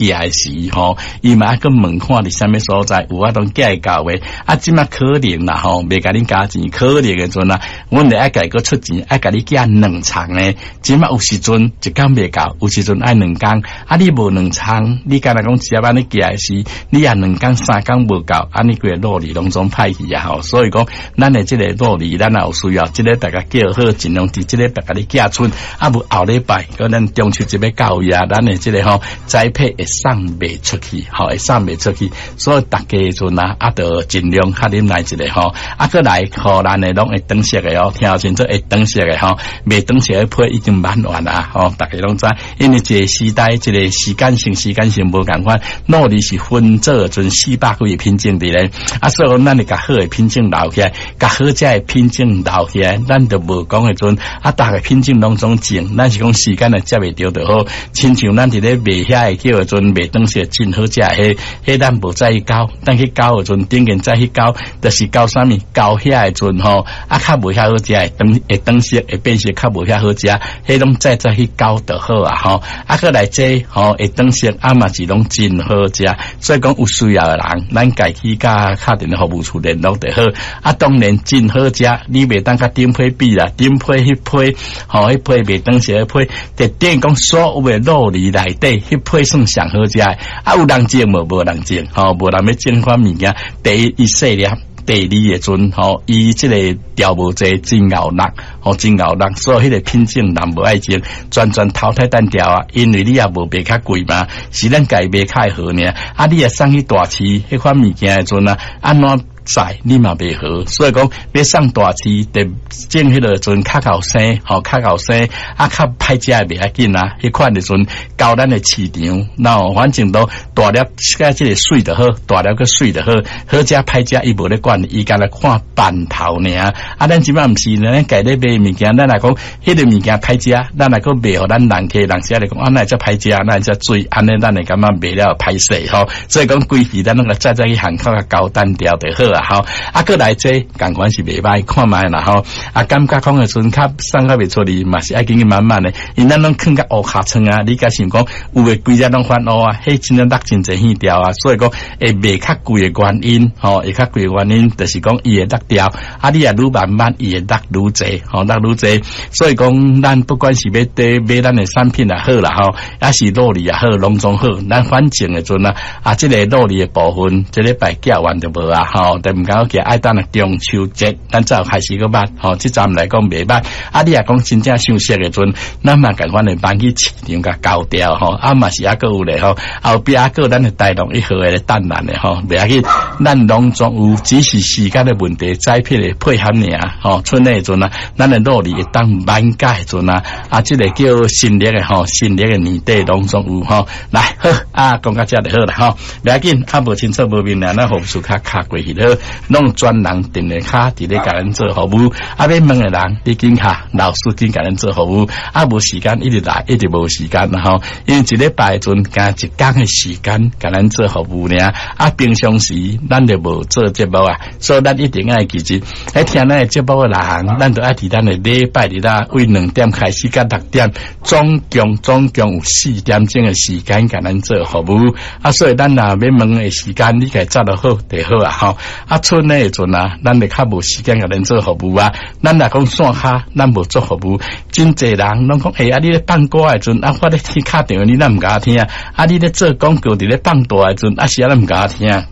寄時吼，伊嘛愛閣問看佇啥物所在，有法度寄會到袂？啊，這馬可能啦吼，袂共恁加錢，可能的陣啊，阮著愛家閣出錢，愛共你寄兩層的。這馬有時陣一工袂夠，有時陣愛兩工。啊，你無兩層，你敢若講直接按呢寄的時，你也兩工三工無夠，按呢規个路里攏總歹去啊吼。所以講，咱的這个路里，咱也有需要，這個大家叫好，盡量佇這禮拜共你寄出。啊，無後禮拜，可能中秋節欲到位啊，咱的這个吼栽培會送袂出去，吼會送袂出去，所以逐家陣啊，啊，著盡量較忍耐一下吼。啊，閣來，予咱的攏會轉色的哦，聽清楚會轉色的吼，袂轉色的批已經賣完啊，吼，逐家攏知，因為一個時代，一個時間性，時間性無仝款，酪梨是分做陣400幾個品種佇咧，啊，所以講咱會共好的品種留起來，共好食的品種留起來，咱就無講彼陣啊，逐個品種攏總種，咱是講時間來接袂著就好，親像咱佇咧賣遐個叫做袂轉色真好食，彼彼咱無再去交，咱去交的陣，頂間再去交，就是交啥物？交遐的陣吼，啊，較無遐好食，會轉會轉色，會變色，較無遐好食，彼攏再再去交就好啊吼。啊，閣來這吼會轉色，啊嘛是攏真好食，所以講有需要的人，咱家去佮敲電話服務處聯絡就好。啊，當然真好食，你袂當佮頂批比啦，頂批彼批吼，彼批袂轉色彼批，就等於講所有的酪梨內底，彼批算上好食的。啊，有人種無？無人種，吼，無人欲種款物件。第一，伊細粒；第二的陣，吼，伊這個調無濟，真𠢕落，吼，真𠢕落，所以彼個品種人無愛種，全全淘汰單掉啊。因為你也無賣較貴嘛，是咱家賣較會好爾。啊，你若送去大市，彼款物件的陣啊，按怎載你嘛袂好，所以講欲送大市，得種彼個陣較𠢕生，吼較𠢕生，啊較歹食的袂要緊啊。彼款的陣到咱的市場，然後反正都大粒，佮這個媠就好，大粒閣媠就好，好食歹食伊無咧管，伊干焦看範頭爾。啊，咱這馬毋是，咱家咧賣物件，咱若講彼個物件歹食，咱若閣賣予咱人客，人時仔來講啊，哪會遮歹食，哪會遮水，按呢咱會感覺賣了歹勢吼。所以講規矩咱攏共早早去巷口共交單掉就好啊。吼，啊，閣來這仝款是袂歹，看覓啦吼。啊，感覺講的陣較送較袂出去，嘛是愛緊緊慢慢的，因咱攏囥較烏尻川啊，你敢想講有的規隻攏翻烏啊，彼真正落真濟耳掉啊，所以講會賣較貴的原因，吼，會較貴的原因，就是講伊會落掉，啊，你若愈慢慢，伊會落愈濟，吼，落愈濟。所以講，咱不管是欲佇買咱的產品也好啦，吼，抑是酪梨也好，攏總好，咱反正的陣啊，啊，這個酪梨的部分，這禮拜寄完就無啊，吼。就毋敢講愛等到中秋節，咱才有開始閣賣，吼，這站來講袂歹。啊，你若講真正想熟的陣，咱嘛仝款會搬去市場共交掉，吼，啊嘛是猶閣有咧，吼，後壁猶閣咱的台農一號的等咱的，吼，袂要緊，咱攏總有，只是時間的問題，栽培的配合爾，吼，春的陣啊，咱的酪梨會當滿價的陣啊，啊，這個叫新曆的吼，新曆的年底攏總有吼，來好，啊，講到這就好啦，吼，袂要緊，啊，無清楚無明了，咱服務處較敲過去好，攏專人電話卡佇咧共咱做服務，啊，欲問的人，你緊敲，老師緊共咱做服務，啊，無時間一直來，一直無時間啦吼，因為一禮拜的陣，干一工的時間共咱做服務爾，啊，平常時咱就無做節目啊，所以咱一定愛記住，愛聽咱的節目的人，咱就愛佇咱的禮拜日啊，為2點開始到6點，總共總共有4點鐘的時間共咱做服務，啊，所以咱若欲問的時間，你家紮落好就好啊吼，啊，春的時陣啊，咱就較無時間共咱做服務啊，咱若講線下，咱無做服務，真濟人攏講，欸，啊，你咧放歌的時陣，啊，我咧聽敲電話，你哪毋共我聽？啊，你咧做廣告，佇咧放大的時陣，啊是按怎毋共我聽？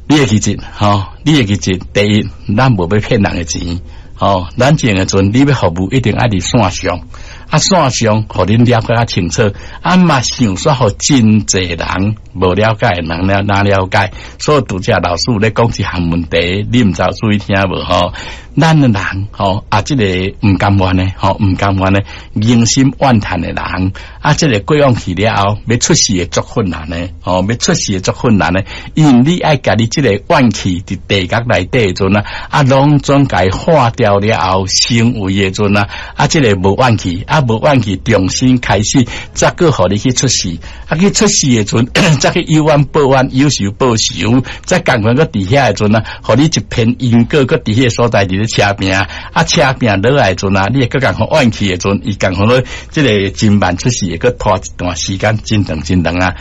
你會記住，吼，你會記住，第一，咱無欲騙人的錢，吼，咱種的陣，你欲服務一定愛佇線上。啊，線上，予恁了解較清楚，啊嘛想說予真濟人無了解的人了哪了解，所以拄才老師有咧講一項問題，你毋知有注意聽無吼？咱的人吼啊，這個毋甘願的吼，毋甘願的，人心怨嘆的人，啊，這個過往去了後，欲出世會足困難的，吼，欲出世會足困難的，因為你愛共你這個怨氣佇地獄內底的陣啊，啊，攏總共化掉了後，成為的陣啊，啊，這個無怨氣啊。無怨氣，重新開始，才閣予你去出世。啊，去出世的陣，才去有冤報冤，有仇報仇，才仝款閣佇遐的陣啊，予你一片因果，閣佇彼个所在佇咧。咧車拼，啊車拼落來時陣啊，你會閣共款怨氣的時陣，伊共款咧這个真慢出世，會閣拖一段時間，真長真長啊。